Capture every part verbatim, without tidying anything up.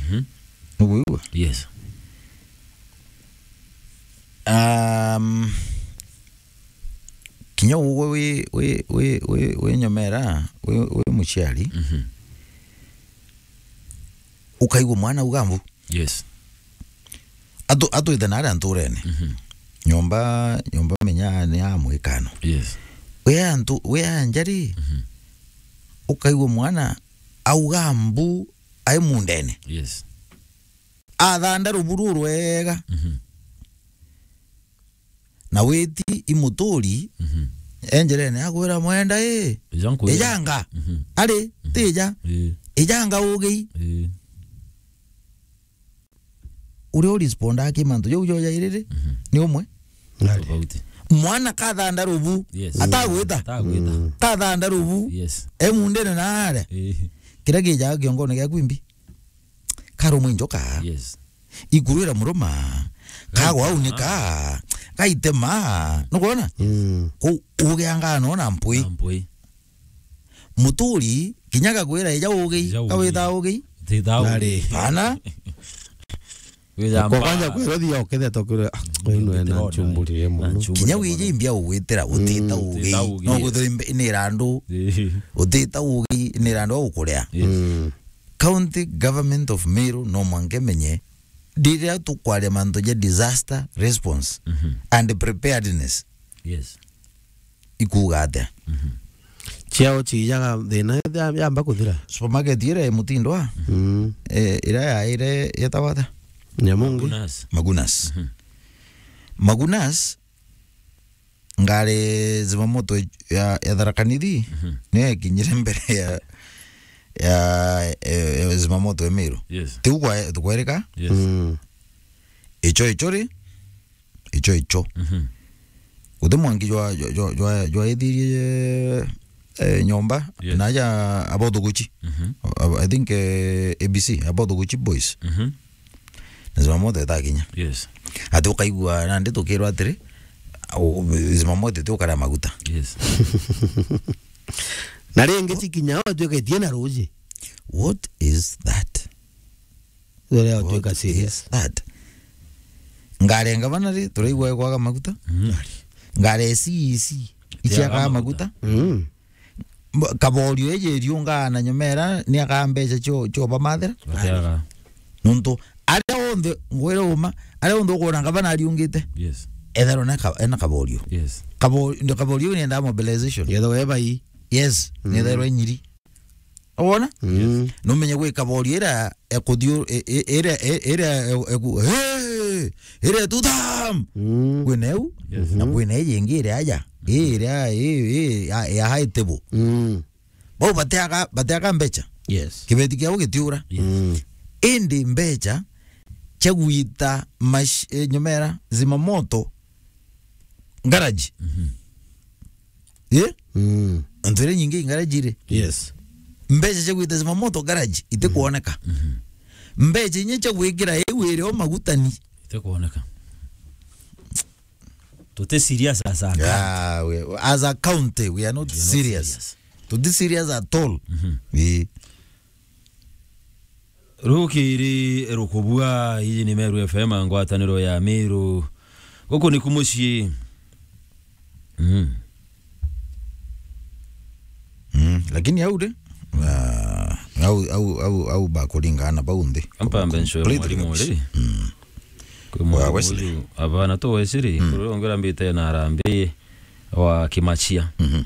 Mhm. Nukwigua? Yes. Um, kinya ugwe wi, wi, wi, wi, wi nyomera, wi, wi muciari, Mhm. ukaigua mwana auga mbu. Yes. Atu-, atwite na aria nturene. Mhm. Nyomba, nyomba menya ni ya mwikano. Yes. Wi antu, wi anja ri, Mhm. ukaigua mwana auga mbu ai mundene. Yes. Athanda rubu rurwega. Mhm. Na witi i muturi, Mhm. enjerene akwira mwenda i. Ija nkwira. Ijanga. Mhm. Ari, Mhm. tija. Ii. Ijanga ugi. Ii. Uria urespondaga ki mantu jau jojairiri, Mhm. ni umwe. Tofauti. Mwana kathanda rubu, Yes. atagwita. Atagwita. Mm. Kathanda rubu, Yes. e mundene na aria. Ii. Kiria kijaga kiongone giaku imbi. Karumwe njoka. Yes. Ikurwira muruma. Gaitema. Kagwa aunika. Gaitema. Nukwona? Mm. Ku-, ugianga no na mpwi. Na mpwi. Muturi, kinya gakwira ija ugi, Ija ugi. Gawita ugi. Tita ugi. Nari. Bana. Wija Kwa mbaa. Kwanja kwira thia ukethe tokure, ah, uyu nwe na Ndirona. Nchumburi ye Na muno. Nchumburi Kinya ye wiji muno. Imbia ugwitira, utita Mm. ugi. Utita ugi, No yes. Guthira imbi-, ni randu. Ii. Utita ugi, ni randu wa gukuria. Yes. Mm. County Government of Meru no mwanka imenye, riria tukwaria mantu ja disaster response Mhm. and preparedness, Yes. ikuuga atia? Mhm. Ciao ciijaga thina ya-, yamba kuthira. Supermarket iria ya Mutindwa, Mm. eh, iria yaire yetagwa atia? Nyamungi. Magunas. Magunas. Mhm. Magunas, ngari zimamoto ya, ya Tharaka Nithi, Mhm. niyo yakinyire mbere ya, ya, ya, ya zimamoto ya Meru. Yes. Tiu kwa-, tukwerika? Yes. Mm. Icho, icho ri? Icho, icho. Mhm. Guti mwanki jwa, jwa, jwa, jwa, jwaithirie, eh, nyomba, Yes. na aja abothuguchi. Mhm. I, I think, eh, A B C, abothuguchi boys. Mhm. Na zimamoto itakinya. Yes. Ati ukaigua nandi tukirwa atiri, u-, u-, zimamoto ti ukara maguta. Yes. Na ringi cikinya, o tuiketie na ruji. What is that? Uria What utuika serious. Is that? Ngari ya ngavana ri, turaigua ikwaga maguta. Mm. Ngari ya C E C, Itiaga iciaga maguta. Maguta. Mm. Mb-, Kaborio eje riungaa na nyomera, ni akaa mbeca cio, cio bamathira. Atiaga. Nuntu, aria onthe, ngwire uma, aria onthe ukwona ngavana ariungite. Yes. Etherwa na ka-, ena Kaborio. Yes. Kabo-, ndio Kaborio ni enda mobilization. Yetho we bai. Yes, Mm. ni etherwa nyiri. Wona? Mm. Numenye gwi Kaborio ira ekuthiu-, i-, i-, ira, i-, ira e-, eku-, hey! Ira tutam! Mm. Kwina eu, Yes. na kwina iji ingi iri aja. Ii ira, ii, ii, ya, ya high table. Mm. Bau bateaga, bateaga mbecha. Yes. Kibeti kiao gitiura. Yes. Mm. Indi mbecha cia gwita mash-, eh, nyomera, zimamoto, garage. Mhm. Eh? Mm. Antu iria nyingi i garage iri. Yes. Mbecha cia gwita zimamoto garage itikwoneka. Mhm. Mbecha inya cia gwikira iu irio magutani. Itikwoneka. Tuti serious as a county. Yeah, we, as a county, we are not We are not serious. serious. Tuti serious at all. Mhm. Ii. Rukiri rukubua, iji ni Meru F M, ngwataniro ya Meru. Guku niku mucii. Mm. Mm, lakini au de, ah, au, au, au, au bakuringana bau nthi. Ampa mbe ncwe Completely mwarimu rubbish. Ri. Mm. Kwi Wa mwarimu Wesley. Uyu, abana tu Wesley, Mm. kuri ongera mbite na arambi wa Kimachia. Mhm.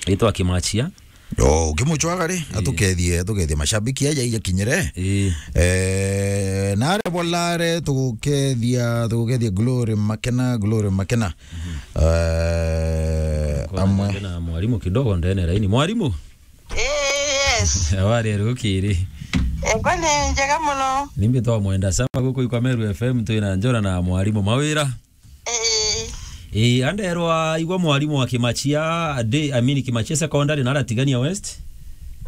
Itwa Kimachia. Oh, ukimuchwaga ri, Ii. atukethie, atukethie mashabiki aja ija kinyire. Ii. Eh, nare bolare tugukethia, tugukethia Glory Makena, Glory Makena. Mhm. Eh, Kwa amwe. Na mwalimu kidogo ndene laini. Mwalimu? Eh, yes. Habari ya rukiri? Ego ni njega muno. Nimbi twa mwenda sana guku ikwa Meru F M twina njora na mwalimu mawira. Eh. Eh, anderwa igwa mwalimu wa Kimachia, de, I mean, Kimachia Secondary na Aratigania West.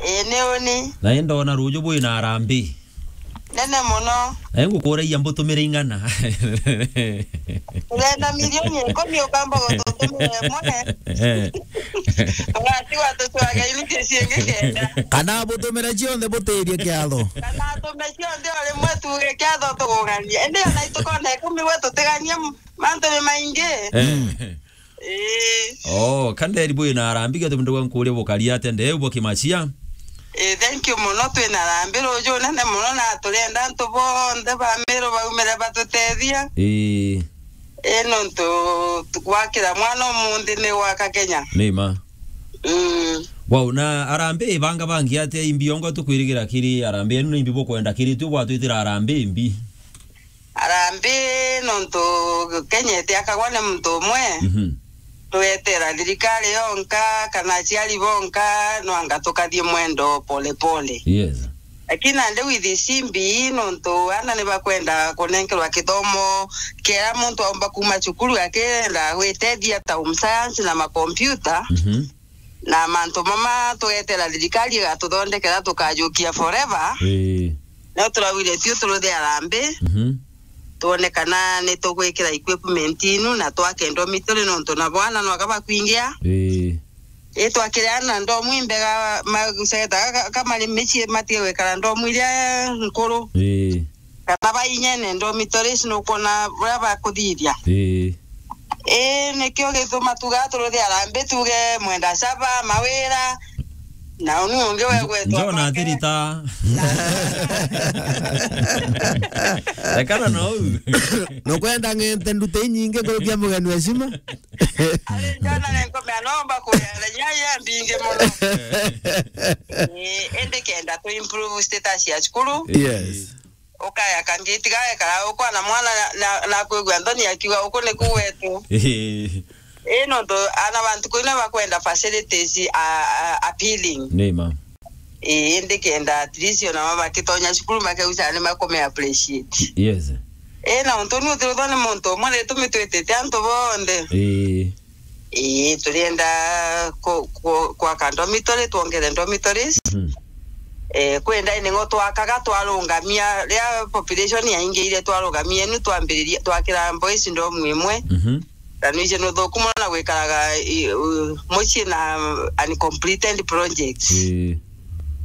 Eh, ni uni. Na enda ona ruju bwi na arambi. nene mono. Eh, ngukuragia mbutumire ing'ana? Urenda milioni ikumi ukamba gututumira imwe? Ugatigwa tucwaga unit ciingi kenda. Kana butumire cionthe butirie kiatho. Kana tume cionthe o rimwe tuge kiatho tuguganie. Indi ona itukona ikumi gwe tutiganie m-, mantu ni maingi. Eh. Ii. Oh, kanderi bwina arambi, gatu mndu gwa nkuria bukari atia ndeu bwa Kimachia? Ii, thank you mono, twina arambi ruju nene mono, na turenda antu bonthe ba Meru baumire batutethia. Ii. Ii, nontu tu-, gwakira mwana umunthi ni gwaka Kenya. Ni ma. Mm. Wow, na arambi ibanga bangi atia imbi ongo tukwirigira kiri arambi enu ni imbi bukwenda kiri tu bwatwitira arambi imbi? Harambee nontu Kenya itiakagwa ni muntu umwe. Mhm. Twetera thirikari yonka kana aciari bonka, no anga tukathie mwendo pole pole. Yes. Lakini nandi with simbi, nontu ana ni bakwenda kunenkerwa kithomo kiria muntu aumba kuma cukuru akenda gwitethia ta home science na makompyuta. Mhm. Na mantu mama tugetera thirikari igatuthondekera tukajukia forever. Ii. No turaugire tio turuthe arambi. Mhm. Tuone kana ni tugwikira equipment inu na twake ndomi turi nontu na bwana no akaba kwingia. Ii. Ii, twakire ana ndomu imbega maguceta ka-, kamari mici matige gwikara ndomu iria nkuru. Ii. Kana bainyene dormitories, nukona buria bakuthithia. Ii. Ii, nikio gituma tuga turuthi arambi, tuge mwenda caba, mawira, na uni ungi we gwetwa John kwake. Athirita. Rekana na uu. Nukwenda ng'ente nduti inyingi kurukia mugeni wa heshima? Ari John, nenkomea nomba kuria nyai ya mbingi muno. Ii, indi kenda tu improve status ya cukuru. Yes. Ukaya kangiti gagekara ukwana mwana na, na, na kwigua nthoni akiuga uku niku gwetu. Ii. Ii, nontu ana bantu kwina bakwenda facilities a, a, appealing. Ni ma. Ii, indi kenda at least ona mama bakitonya cukuru makeusa ni makume appreciate. Yes. Ii, na untu ni uthirithwa ni muntu umwe ni tumi twitite antu bonthe. Ii. Ii, turienda ku-, ku-, kwaka dormitory, twongere dormitories. Mhm. Eh, kwi ndaini ng'o twakaga, twarungamia, ria population yaingiire, twarungamia, inu twambiririe, twakira boys dorm imwe. Mhm. Na nwije ni uthuku mono na gwikaraga, i, u, mucii na uncompleted projects. Ii.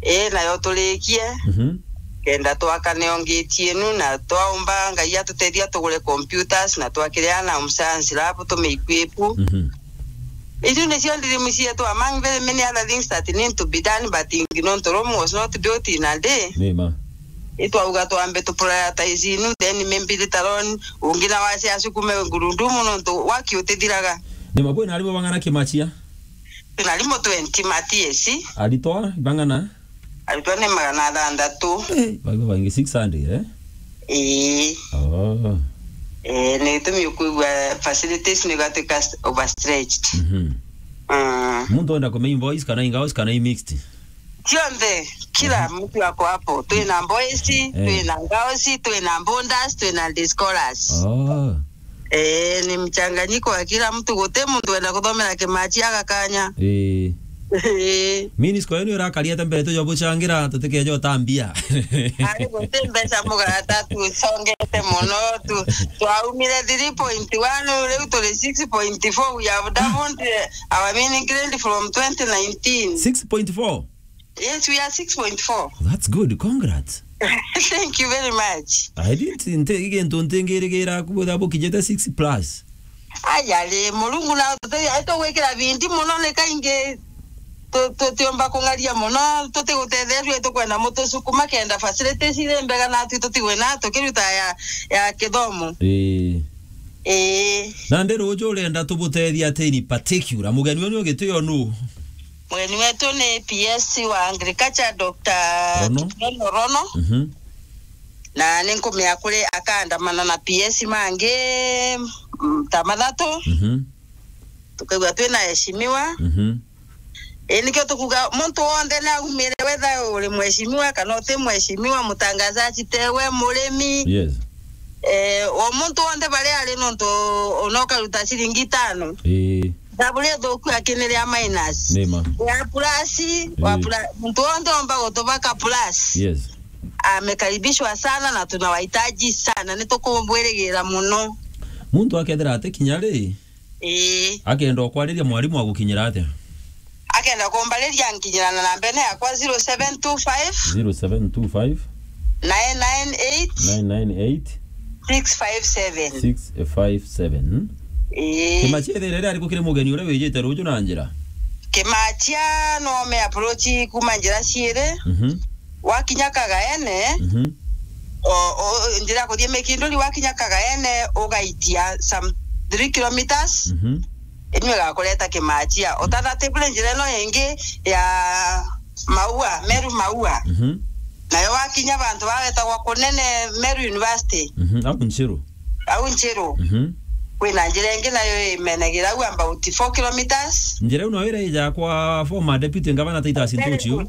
Ii, nayo turikie. Mhm. Kenda twaka niongitie nu, na twaumba Ngai atutethia tugure computers, na twakiria na science lab tume equip. Mhm. Icio nicio dream cietu, among very many other things that need to be done, but nontu Rome was not built in a day. Ni ma. Itwauga twambe tu prioritize inu, then maybe later on, ungi na wacia asukume ngurundumu, nontu waki utithiraga. Ni ma, kwina arimwe bang'ana Kimachia? Twina arimwe twenty ma T S C. Aritwa bang'ana? Aritwa ni magana athanthatu. Eh, baigua baingi six hundred, eh? Ii. Oh. Eh, ni gitumi ukwigua facilities ni gatuika st-, overstretched. Mhm. Mm. Muntu wenda kumenya boys kana i girls kana i mixed? Cionthe, kila Mhm. mtu ako hapo. Twina boys, Eh. twina girls, twina boarders, twina day scholars. Oh. Eh, ni mchanganyiko wa kila mtu, guti muntu wenda kuthomera Kimachi aga kanya. Ii. Ii. Minisco yenu irakariete mbere tujo buchangira, tutikeje utambia. Ari guti mbeca mugarata, tucongete muno, tu-, twaumire three point one, riu turi six point four, we have doubled, eh, our mini grant from twenty nineteen. Six point four? Yes, we are six point four. That's good. Congrats. Thank you very much. I didn't nte-, igintu ntingirigira kubutha bukijete six plus. Aya ri, Murungu na tuti-, aitugwikira bindi muno ni kaingi tu-, tutiumba kung'aria muno, tutigutetheria, tukwenda mutusukuma kenda facilities iri mbega natwi tutigwe na tukiruta ya, ya kithomo. Ii. Ii. Na ndi ruju urenda tubutethia atia in particular? Mugeni wenu ugitio nu? Mugeni wetu ni P S wa Agriculture, Doctor Rono? Rono Rono. Mhm. Na ni nkumea kuri akaandamana na P S mangi, mm, ta mathatu. Mhm. Tukaigua twina heshimiwa. Mhm. Ii, nikio tukuga muntu wonthe ni aumire, whether uri mheshimiwa kana uti mheshimiwa, mutangazaji tewe, murimi. Yes. Eh, o muntu wonthe baria ari nontu ona ukaruta ciringi itano. Ii. Thabu ria thuku akiniria minus. Ni ma. Ya plus, wa Ii. pla-, muntu wonthe omba gutubaka plus. Yes. amekaribishwa sana na tunawahitaji sana. Nitukumwirigira muno. Muntu akethira ati kinya ri, ii, akenda kwariria mwarimu agukinyira atia? Akenda kumbariria nkinyira na nambene yakwa zero seven two five, zero seven two five, nine nine eight, nine nine eight, six five seven. Six five seven. Ii. Kimachia ithire riria riku kiri mugeni uria wijite ruju na njira? Kimachia no me approach kuma njira ciiri. Mhm. Wakinya Kagaene, mhm, o, o, njira ya kuthii Mikinduri, wakinya Kagaene ugaitia some three kilometers. Mhm. Inyo igakureta Kimachia. Utatha ati kuri njira ino ingi ya Maua, Meru Maua. Mhm. Nayo wakinya bantu baretagwa kunene Meru University. Mhm. Au Nchiru. Au Nchiru. Mhm. Kwina njira ingi nayo imenagira au about four kilometers. Njira ino ira ija kwa former deputy governor Titus Ntuchi u?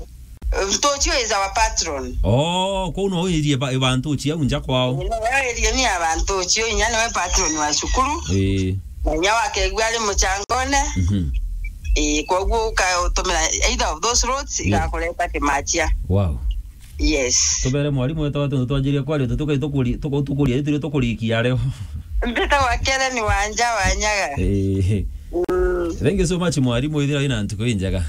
Ntuchi u is our patron. Oh, kwou no irie ba, ba Ntuchi au nja kwao. Ino yo irie ni ya ba Ntuchi u, inya niwe patron wa cukuru. Ii. Na inya wakegua ari muchangone. Mhm. Ii, koguo ukautumira either of those roads, yeah, igakureta Kimachia. Wow. Yes. Tubere mwarimu wetagwa ati twanjirie kwaria, tukai tukuri-, tuku-, tukuria, itiri tukurikia ario. Mbitagwa Kellen Wanja Wanyaga. Eh. Mm. Thank you so much, mwarimu, ithira ina ntuku injega.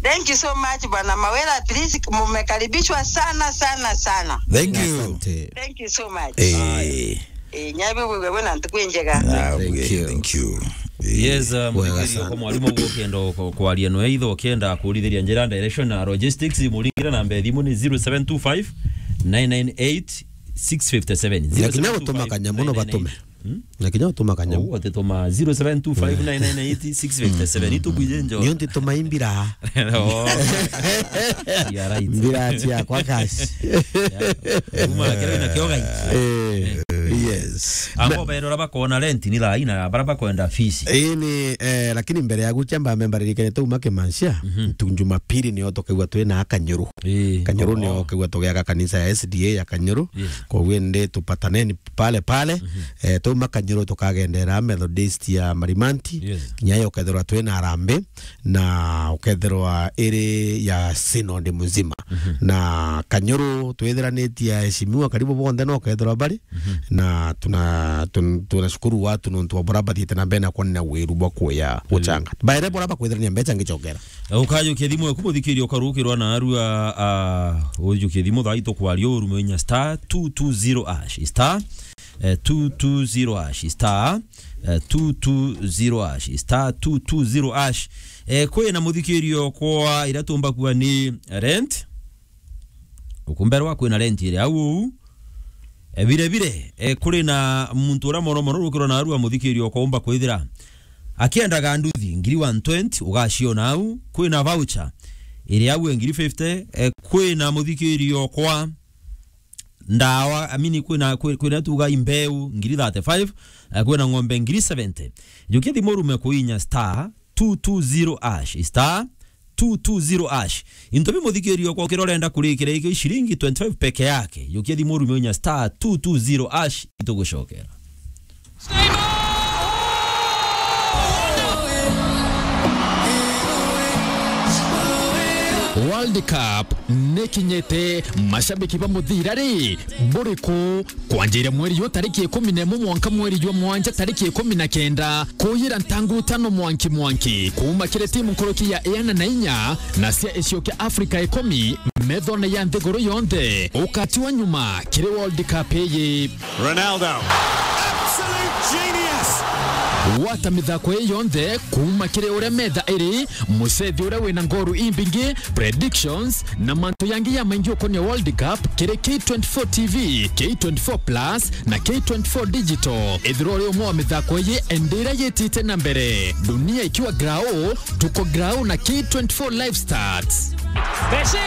Thank you so much, Bwana Mawira. At least mumekaribishwa sana, sana, sana. Thank you. Asante. Thank you so much. Eh. Eh, nyabi wewe na ntuku injega. Ah, thank you. Thank you. Eh. Yes, um, wega sana. Kwa mwarimu uguo kendo kwa, kwaria no itho kenda kurithiria njira direction na logistics, muringira namba ya thimu ni zero seven two five, nine nine eight, six five seven. Na kinya gutuma kanyamu no batume. Hmm? Na kinya gutuma kanyamu. Ou, ati tuma zero seven two five nine nine eight six five seven. Itu bwije njo. Nio nti tuma imbira. Oh. Yeah, right. Mbira cia kwa cash. Yeah. Uma kero ina kioga. Eh, yes. Abo bairora bakona rent ni thaa ina, bara bakwenda fees. Ii ni, eh, lakini mbere ya guchamba memba ririkane tu uma Kimanchia, mhm, tu Jumapili nio tukaigua twina Kanyuru. Ii. Kanyuru nio tukaigua tugiaka kanisa ya S D A ya Kanyuru. Yes. Koguo ndi tupataneni pale pale. Mhm. Eh, tuma Kanyuru tukagendera Methodist ya Marimanti. Yes. Kinya yo ukethirwa twina Harambee na ukethirwa iri ya synod muzima. Mhm. Na Kanyuru twithiranitie aheshimiwa karibu bonthe no ukethirwa bari. Mhm. Na tuna-, tun-, tunashukuru watu nontu wa bora bathiite na mbere na kwonania wiru bwa kuya, mm, guchanga. Baere bora bakwithirania mbecha ngichokera. Ukajukia thimu yaku muthikiria ukarukirwa na arua, ah, ujukie thimu thaa itu kwaria urume inya star two two zero hash. Star, eh, two two zero hash. Star, eh, two two zero hash. Star two two zero hash. Eh, kwina muthikirio kwa ira tumba kuwa ni rent. Ukumberwa kwina rent iri au uu. E, bire bire, e, kuri na muntu uria mono mono rukirwa na arua muthikirio kwa umba kwithira akiendaga nduthi ngiri one twenty, ugaciona au. Kwina voucher iri au e ngiri fifty, e, kwina muthikirio kwa ndawa, I mean, kwina, kwi-, kwina tuga imbeu ngiri thirty-five, e, kwina ng'ombe ngiri seventy. Jukia thimu urume kuinya star two two zero hash, star two two zero hash. Into bi muthikirio kwa ukira urenda kurikira iki ciringi twenty-five peke yake. Jukia thimu urume unya star two two zero hash, itugucokera. World Cup nikinyite, mashabiki ba muthira ri, buriku? Kwanjira mweri jwa tariki ikumi na imwe mwanka mweri jwa mwanja tariki ikumi na kenda, kuyira ntangu tano mwanki mwanki, kuuma kiri timu nkuruki ya iana na inya na cia icio kia Afrika ikumi, methone ya nthiguru yonthe, ukatiwa nyuma kiri World Cup iyi. Ronaldo. Absolute genius. Gwata mithako ii yonthe kuuma kiri uria metha iri, mucethi uria wina ngoru imbingi, predictions, na mantu yangi ya maingi ukonia World Cup kiri K twenty-four T V, K twenty-four Plus, na K twenty-four Digital. Ethirwa uri umwe wa mithako ii, endira yitite na mbere. Dunia ikiwa grau, tuko grau na K twenty-four Live Stats. Messi!